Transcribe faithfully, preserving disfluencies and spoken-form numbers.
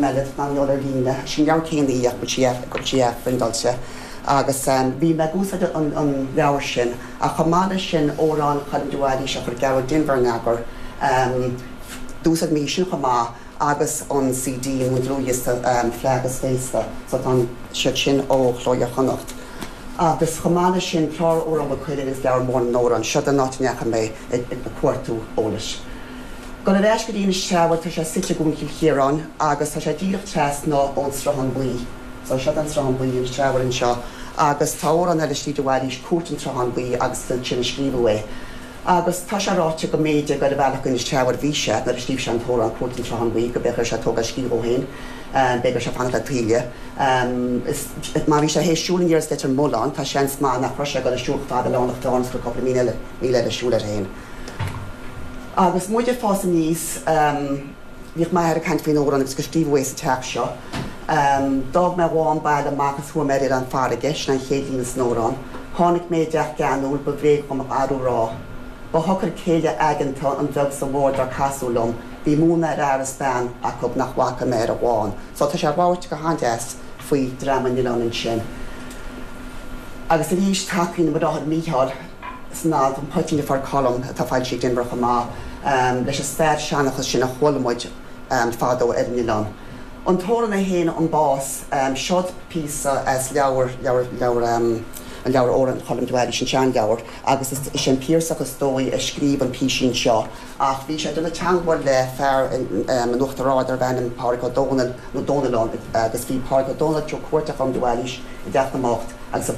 ainm eile ná ar líne sin leabhar céanna sí phriontáilte. Agus um, bhí mé ag úsáid an, an leabhar sin a chomáile sin órán chun duáí se chur gear dinver neagar um, d'úsáid mé sin chomh maith agus an CD an dlúthdhiosca um, Fleadh agus Féasta so tá siad sin ó Chló Iar-Chonnacht. Agus chomh maith leis sin clár Amhrán Mhaigh Cuilinn is leabhar mór na n-amhrán seo an áit a ndeachaigh mé ag ag cuartú eolais. Go le go dtí seha tá sé suite i gCuan Chill Chiaráin agus tá sé díreach trasna ón Sruthán Buí. So seo an Sruthán Buí an Teamhair anseo agus tá an eile slí bhhaís cuat an Sruthán Buí agus sin scríobhadh é. Agus tá sé ráite go mb'fhéidir gur bhealach an Teamhair bhí sé nuair a scríobh sé an t-amhrán Cúirt an tSrutháin Bhuí go b'fhéidir sé tógáil scíth féin, b'fhéidir sé fanacht le taoille. Má bhí sé théis siúl aníos Leitir Mealláin tá seans maith nach raibh sé go siúl fada lánach go cúpla míle míle eile siúl air féin. Agus muid ag fás aníos bhíodh m'athair ag caint faoin amhrán agus go scríobhadh é sa teach seo. Um, D'fhág mé mhám baile amach is chuaigh mé ar an farraige sin an chéad líne san amhrán. Tháinig mé i dteach geanúil ba bhréag dom arú rá. Ba shocair céile aigeanta an bheag sa mhór dar casadh liom, bhí múineadh ar fhear is bean acu nach bhfaca mé ar a bhán. So tá sé ag labhairt go han-deas faoi dream an oileáin ansin. Agus arís tacaíonn mo Mícheál san alt an poitín a fuair Colm atá foilsithe ag Denvir chomh maith um, leis an stair seanchas sin a chuala muid um, fadó ar an oileán. An t-amhrán é féin an bás um, seod píosa as leabhar leabhar leabhar um, an leabhar Amhrán Choilm de Bhailís an seanleabhar agus is sin Piarsach is dóigh a scríobh an písín seo ach bhí sé ag déanamh teagmháil le fear an Uachtaráin darbh ainm Pádraig Ó Dónaill nó Dónallán agus bhí Pádraig Ó Dónaill ag cuartú Colm de Bhailís i dTeach na mBocht agus a